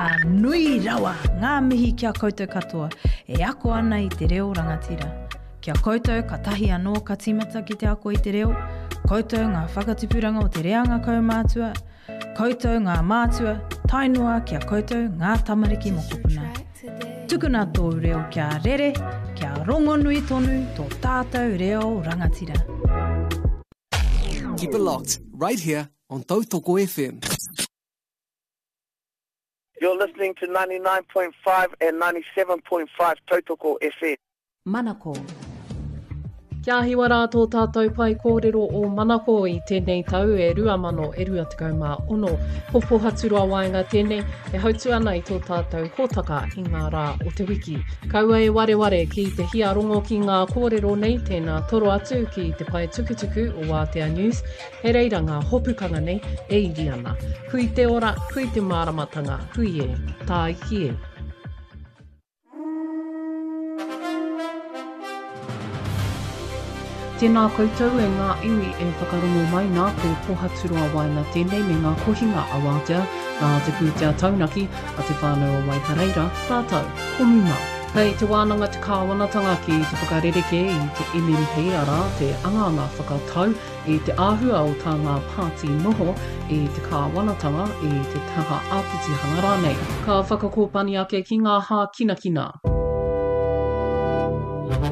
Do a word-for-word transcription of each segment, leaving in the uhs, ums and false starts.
Ka nui rawa ngā mihi ki a koutou katoa e ako ana i te reo rangatira. Ki a koutou katahi anō ka tīmata ki te ako i te reo, koutou ngā whakatipuranga o te reanga kaumātua, koutou ngā mātua, tae noa ki a koutou ngā tamariki mokopuna. Tukuna tōu reo kia rere, kia rongonui tonu tō tātou reo rangatira. Keep it locked right here on Tautoko F M. You're listening to ninety-nine point five and ninety-seven point five Tautoko F M. Manako. Kia hiwa rā tō tātou pae kōrero o Manako i tēnei tau e rua mano e rua tekau mā ono. Ko Pohaturoa Waenga tēnei e hautu ana i tō tātou hōtaka i ngā rā o te wiki. Kaua e wareware ki te hia rongo ki ngā kōrero nei, tēnā toro atu ki te pae tukutuku o Wātea News, he reira ngā hopukanga nei e iri ana. Hui te ora, hui te māramatanga, hui e, tāiki e. Tēnā koutou e ngā iwi e whakarongo mai nā, ko Pohaturoa Waenga tēnei me ngā kohinga a Wātea, nā te pūtea taunaki a Te Whānau o Waipareira, rātou ko Muma. Kei te wānanga te kāwanatanga ki te whakarerekē i te M M P, arā, te angaanga whakatau i te āhua o tā ngā pāti noho i te kāwanatanga, i te taha āpitihanga rānei. Ka whakakōpani ake ki ngā hākinakina.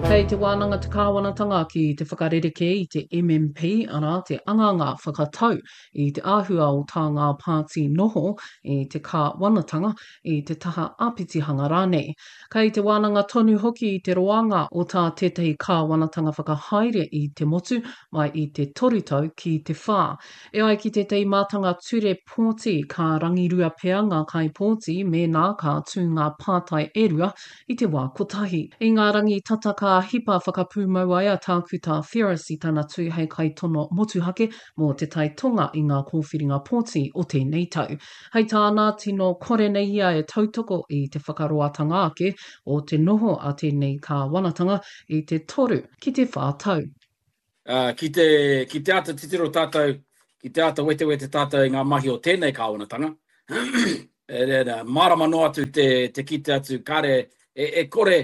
Kei te wānanga te kāwanatanga ki te whakarerekē i te M M P, arā, te angaanga whakatau i te āhua o tā ngā pāti noho i te kāwanatanga, i te taha āpitihanga rānei. Kei te wānanga tonu hoki i te roanga o tā tētahi kāwanatanga whakahaere i te motu mai i te toru tau ki te whā. E ai ki tētahi mātanga ture pōti, ka rangirua pea ngā kaipōti mēnā ka tū ngā pātai e rua i te wā kotahi. I ngā rangi tata ka hipa whakapūmau ai a Tākuta Ferris i tana tū hei kaitono motuhake mō Te Tai Tonga i ngā kōwhiringa pōti o tēnei tau. Hei tāna, tino kore nei ia e tautoko i te whakaroatanga ake o te noho a tēnei kāwanatanga i te toru ki te whā tau. Uh, ki te, ki te āta titiro tātou, ki te āta wetewete tātou i ngā mahi o tēnei kāwanatanga, e, e, mārama noa atu te, te kite atu kare, e, e kore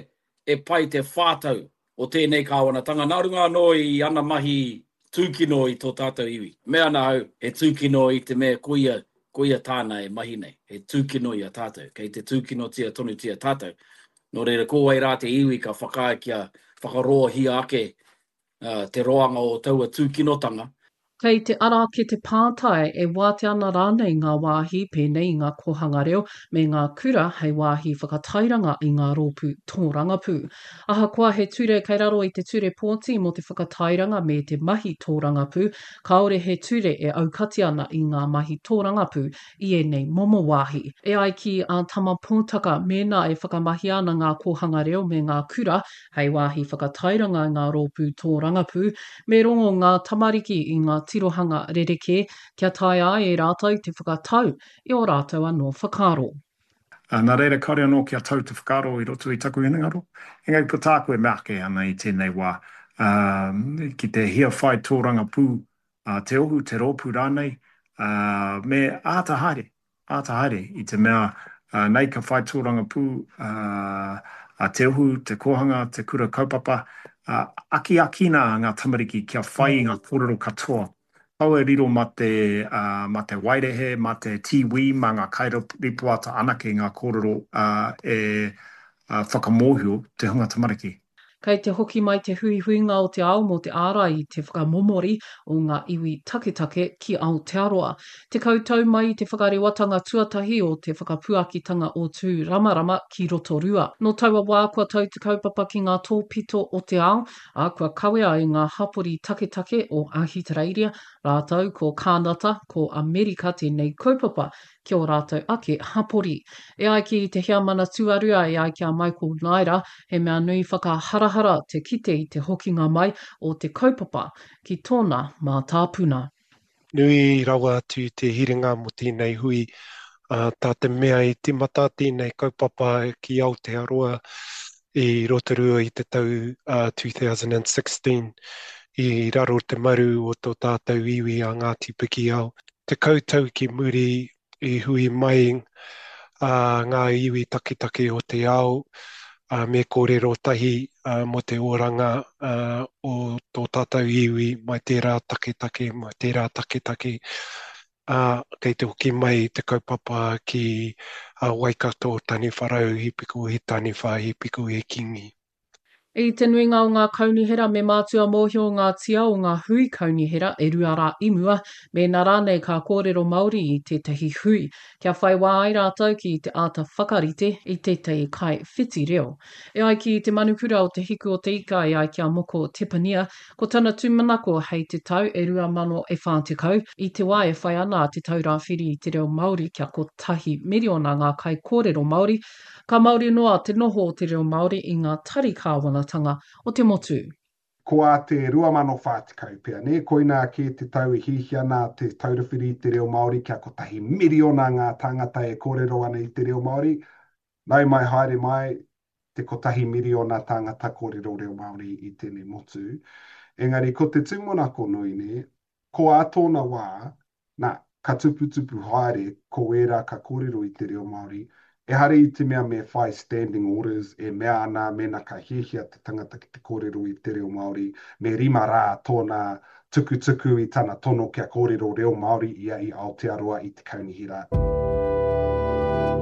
e pai te whātau o tēnei kāwanatanga. Nā runga anō i ana mahi tūkino i tō tātou iwi. Me ana au, he tūkino i te mea koia, koia tāna e mahi nei. He tūkino i a tātou. Kei te tūkinotia tonutia tātou. Nō reira, ko wai rā te iwi ka whakaae kia whakaroahia ake uh, te roanga o taua tūkinotanga? Kei te ara ake te pātai e wātea ana rānei ngā wāhi pēnei i ngā kōhanga reo me ngā kura hei wāhi whakatairanga i ngā rōpū tōrangapū. Ahakoa he ture kei raro i te ture pōti mō te whakatairanga me te mahi tōrangapū, kāore he ture e aukati ana i ngā mahi tōrangapū i ēnei momo wāhi. E ai ki a Tama Pōtaka, mēnā e whakamahia ana ngā kōhanga reo me ngā kura hei wāhi whakatairanga i ngā rōpū tōrangapū, me rongo ngā tamariki i ngā tirohanga rerekē kia taea ai e rātou te whakatau i ō rātou anō whakaaro. Nā reira, kāore anō kia tau te whakaaro i roto i taku hinengaro. Engari ko tāku e mea ake ana i tēnei wā, ki te hia whai tōrangapū te ohu, te rōpū rānei, me āta haere, āta haere i te mea nei ka whai tōrangapū a te ohu, te kōhanga, te kura kaupapa, akiakina ngā tamariki kia whai i ngā kōrero katoa. Kaua e riro mā te, mā te waerehe, mā te T V, mā ngā kairipoata anake ngā kōrero e whakamōhio te hunga tamariki. Kei te hoki mai te huihuinga o te ao mō te ārai i te whakamomori o ngā iwi taketake ki Aotearoa. Tekau tau mai i te whakarewatanga tuatahi o te whakapuakitanga o Tūramarama ki Rotorua. Nō taua wā kua tau te kaupapa ki ngā tōpito o te ao, ā, kua kawea e ngā hapori taketake o Ahitereiria, rātou ko Kānata, ko Amerika tēnei kaupapa ki ō rātou ake hapori. E ai ki te heamana tuarua, e ai ki a Michael Naera, he mea nui whakaharahara te kite i te hokinga mai o te kaupapa ki tōna mātāpuna. Nui rawa atu te hiringa mō tēnei hui, uh, tā te mea i tīmata tēnei kaupapa ki Aotearoa i Rotorua i te tau uh, twenty sixteen i raro te maru o tō tātou iwi a Ngāti Pikiao. Tekau tau ki muri i hui mai ngā iwi taketake o te ao, me kōrero tahi mō te oranga o tō tātou iwi mai tērā taketake, mai tērā taketake, ā, kei te hoki mai te kaupapa ki Waikato, Taniwharau, He Piko He Taniwha, He Piko He Kingi. I te nuinga o ngā kaunihera me mātua mōhio ngā tia o ngā hui kaunihera e rua rā i mua, mēnā rānei ka kōrero Māori i tētahi hui, kia whai wā ai rātou ki te āta whakarite i tētahi kaiwhiti reo. E ai ki te manukura o Te Hiku o Te Ika e ai ki a Moko Tepania, ko tana tūmanako hei te tau e rua mano e whā tekau, i te wā e whai ana a Te Taura Whiri i te Reo Māori kia kotahi miriona ngā kaikōrero Māori, Ka māori noa te noho o te reo Māori i ngā tari kāwanatanga o te motu. Ko ā te rua mano whā tekau pea, nē? Koinā kē te tau e hiahia ana Te Taura Whiri i te Reo Māori kia kotahi miriona ngā tāngata e kōrero ana i te reo Māori. Nau mai haere mai te kotahi miriona tāngata kōrero reo Māori i tēnei motu. Engari ko te tūmanako nui, nē, ko ā tōna wā, nā, ka tuputupu haere ko ērā ka kōrero i te reo Māori, ehara i te mea me whai standing orders e mea ana mēnā ka hiahia te tangata ki te kōrero i te reo Māori, me rima rā tōna tukutuku i tana tono kia kōrero reo Māori ia i Aotearoa i te kaunihera.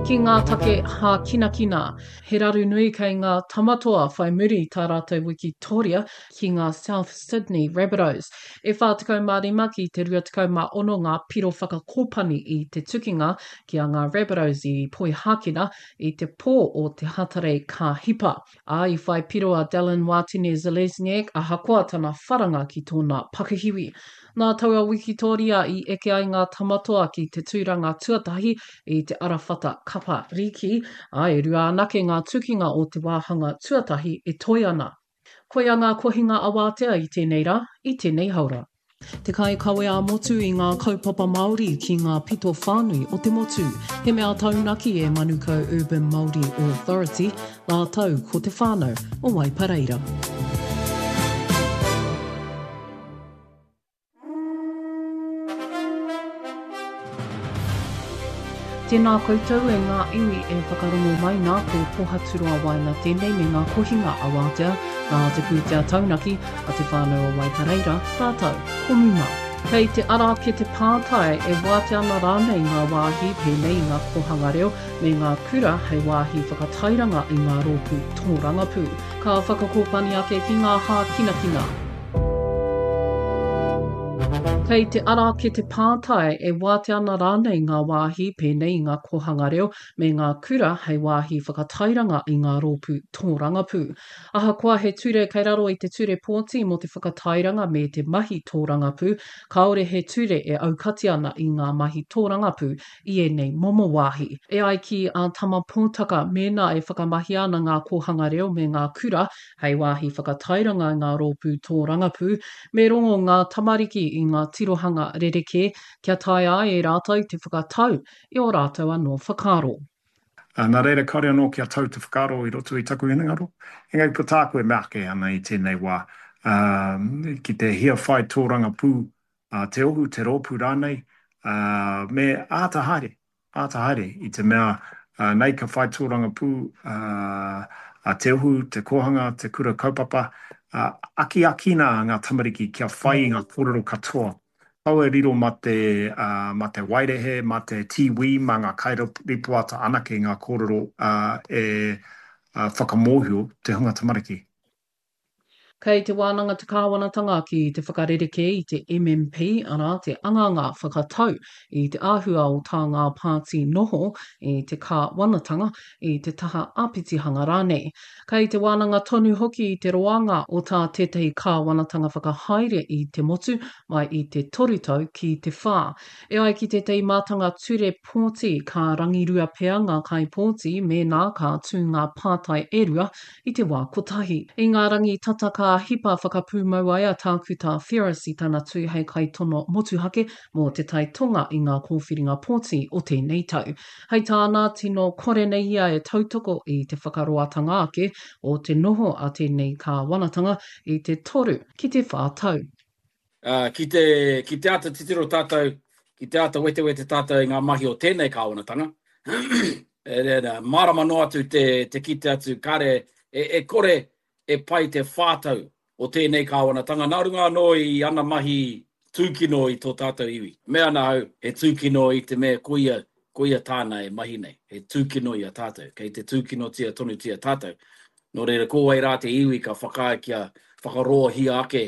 Ki ngā take hākinakina, he raru nui kei ngā Tamatoa whai muri i tā rātou wikitoria ki ngā South Sydney Rabbitohs. E whā tekau mā rima ki te rua tekau mā ono ngā piro whakakōpani i te tukinga ki a ngā Rabbitohs i Poihākena i te pō o te Hatarei ka hipa. Ā, i whai piro a Dallin Watene-Zelezniak ahakoa tana wharanga ki tōna pakihiwi. Nā taua wikitōria i eke ai ngā Tamatoa ki te tūranga tuatahi i te arawhata kapa rīki, ā, e rua anake ngā tukinga o te wāhanga tuatahi e toe ana. Koia ngā kohinga awātea i tēnei rā, i tēnei haora. Te kaikawe ā-motu i ngā kaupapa Māori ki ngā pito whānui o te motu. He mea taunaki e Manukau Urban Māori Authority rātou ko te whānau o Waipareira. Tēnā koutou e ngā iwi e whakarongo mai nā, ko Pohaturoa Waenga tēnei me ngā kohinga awātea nā te pūtea taunaki a Te Whānau o Waipareira rātou ko Muma. Kei te ara ake te pātai e wātea ana rānei ngā wāhi pēnei i ngā kōhanga reo me ngā kura hei wāhi whakatairanga i ngā rōpū tōrangapū. Ka whakakōpani ake ki ngā hākinakina. Kei te ara ake te pātai e wātea ana rānei ngā wāhi pēnei i ngā kōhanga reo me ngā kura hei wāhi whakatairanga i ngā rōpū tōrangapū. Ahakoa he ture kei raro i te Ture Pōti mō te Whakatairanga me te Mahi Tōrangapū, kāore he ture e aukati ana i ngā mahi tōrangapū i ēnei momo wāhi. E ai ki a Tama Pōtaka, mēnā e whakamahia ana ngā kōhanga reo me ngā kura Hei wāhi whakatairanga i ngā rōpū tōrangapū, me rongo ngā tamariki i ngā tirohanga rerekē kia taea ai e rātou te whakatau i ō rātou anō whakaaro. Nā reira, kāore anō kia tau te whakaaro i roto i taku hinengaro. Engari ko tāku e mea ake ana i tēnei wā, ki te hia whai tōrangapū te ohu, te rōpū rānei, me āta haere. Āta haere, i te mea nei ka whai tōrangapū a Te Ohu, te kōhanga, te kura kaupapa, akiakina ngā tamariki kia whai i ngā kōrero katoa. Kaua e riro mā te, mā te wairehe, mā te tīwī, mā ngā kairipoata anake ngā kōrero e whakamōhio te hunga tamariki. Kei te wānanga te kāwanatanga ki te whakarerekē i te M M P, arā, te anganga whakatau i te āhua o tā ngā pāti noho i te kāwanatanga, i te taha āpitihanga rānei. Kei te wānanga tonu hoki i te roanga o tā tētahi kāwanatanga whakahaere i te motu mai i te toru tau ki te whā. E ai ki tētahi mātanga ture pōti, ka rangirua pea ngā kaipōti mēnā ka tū ngā pātai e rua i te wā kotahi. I ngā rangi tata ka hipa whakapūmau ai a Tākuta Ferris i tana tū hei kaitono motuhake mō Te Tai Tonga i ngā kōwhiringa pōti o tēnei tau. Hei tāna, tino kore nei ia e tautoko i te whakaroatanga ake o te noho a tēnei kāwanatanga i te toru ki te whā tau. Ā, ki te, ki te āta titiro tātou, ki te āta wetewete tātou i ngā mahi o tēnei kāwanatanga, Mārama noa atu te, te kite atu, kāre e, e kore e pai te whātau o tēnei kāwanatanga, nā runga anō i ana mahi tūkino i tō tātou iwi. Mea ana au, he tūkino i te mea koia, koia tāna e mahi nei, he tūkino i a tātou, kei te tūkinotia tonutia tātou. Nō reira, ko wai rā te iwi ka whakaae kia whakaroahia ake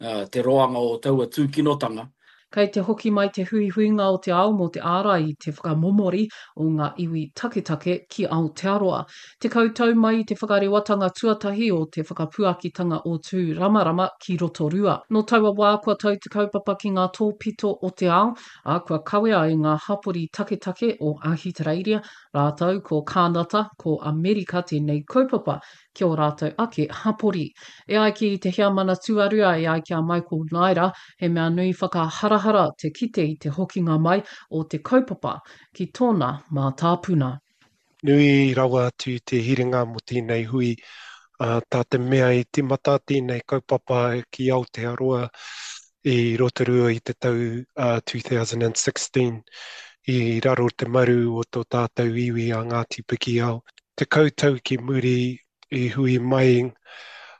uh, te roanga o taua tūkinotanga. Kei te hoki mai te huihuinga o te ao mō te ārai i te whakamomori o ngā iwi taketake ki Aotearoa. Tekau tau mai i te whakarewatanga tuatahi o te whakapuakitanga o Tūramarama ki Rotorua. Nō taua wā kua tau te kaupapa ki ngā tōpito o te ao, ā, kua kawea e ngā hapori taketake o Ahitereiria rātou ko Kānata, ko Amerika tēnei kaupapa ki ō rātou ake hapori. E ai ki te heamana tuarua e ai ki a Michael Naera, he mea nui whakaharahara te kite i te hokinga mai o te kaupapa ki tōna mātāpuna. Nui rawa atu te hiringa mō tēnei hui, tā te mea i tīmata tēnei kaupapa ki Aotearoa i Rotorua i te tau two thousand sixteen i raro te maru o tō tātou iwi a Ngāti Pikiao. Tekau tau ki muri i hui mai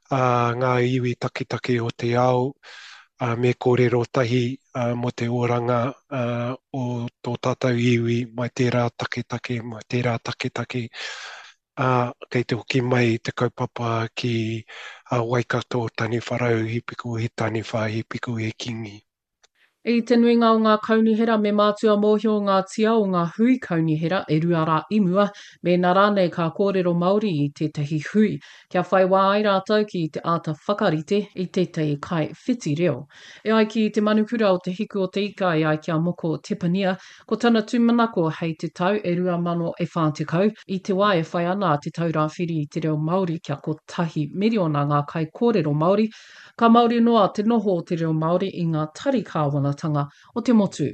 ngā iwi taketake o te ao me kōrero tahi mō te oranga o tō tātou iwi mai tērā taketake, mai tērā taketake, ā, kei te hoki mai te kaupapa ki Waikato, Taniwharau, He piko he taniwha, he piko he kingi. I te nuinga o ngā kaunihera me mātua mōhio ngā tia o ngā hui kaunihera e rua rā i mua, mēnā rānei ka kōrero Māori i tētahi hui, kia whai wā ai rātou ki te āta whakarite i tētahi kaiwhiti reo. E ai ki te manukura o Te Hiku o Te Ika e ai ki a Moko Tepania, ko tana tūmanako hei te tau e rua mano e whā tekau, i te wā e whai ana a Te Taura Whiri i te Reo Māori kia kotahi miriona ngā kaikōrero Māori, Ka māori noa te noho o te reo Māori i ngā tari kāwanatanga o te motu.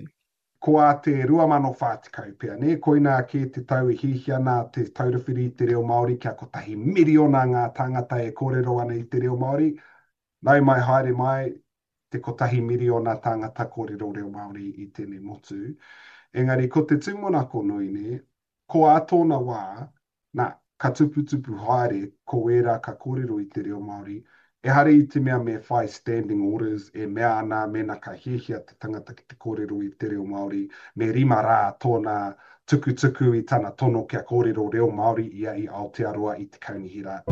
Ko ā te rua mano whā tekau pea, nē? Koinā kē te tau e hiahia ana Te Taura Whiri i te Reo Māori kia kotahi miriona ngā tāngata e kōrero ana i te reo Māori. Nau mai haere mai te kotahi miriona tāngata kōrero reo Māori i tēnei motu. Engari ko te tūmanako nui, nē, ko ā tōna wā, nā, ka tuputupu haere ko ērā ka kōrero i te reo Māori, ehara i te mea me whai standing orders e mea ana mēnā ka hiahia te tangata ki te kōrero i te reo Māori, me rima rā tōna tukutuku i tana tono kia kōrero reo Māori ia i Aotearoa i te kaunihera.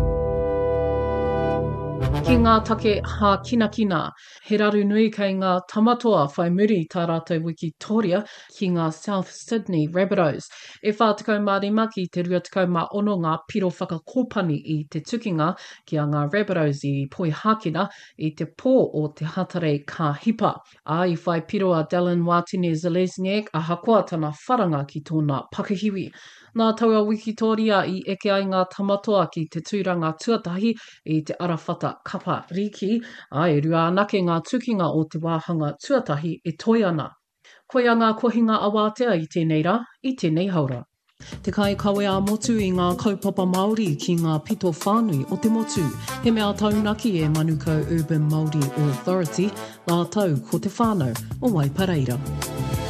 Ki ngā take hākinakina, he raru nui kei ngā Tamatoa whai muri i tā rātou wikitoria ki ngā South Sydney Rabbitohs. E whā tekau mā rima ki te rua tekau mā ono ngā piro whakakōpani i te tukinga ki a ngā Rabbitohs i Poihākena i te pō o te Hatarei ka hipa. Ā, i whai piro a Dallin Watene-Zelezniak ahakoa tana wharanga ki tōna pakihiwi. Nā taua wikitōria i eke ai ngā Tamatoa ki te tūranga tuatahi i te arawhata kapa rīki, ā, e rua anake ngā tukinga o te wāhanga tuatahi e toe ana. Koia ngā kohinga awātea i tēnei rā, i tēnei haora. Te kaikawe ā-motu i ngā kaupapa Māori ki ngā pito whānui o te motu. He mea taunaki e Manukau Urban Māori Authority rātou ko te whānau o Waipareira.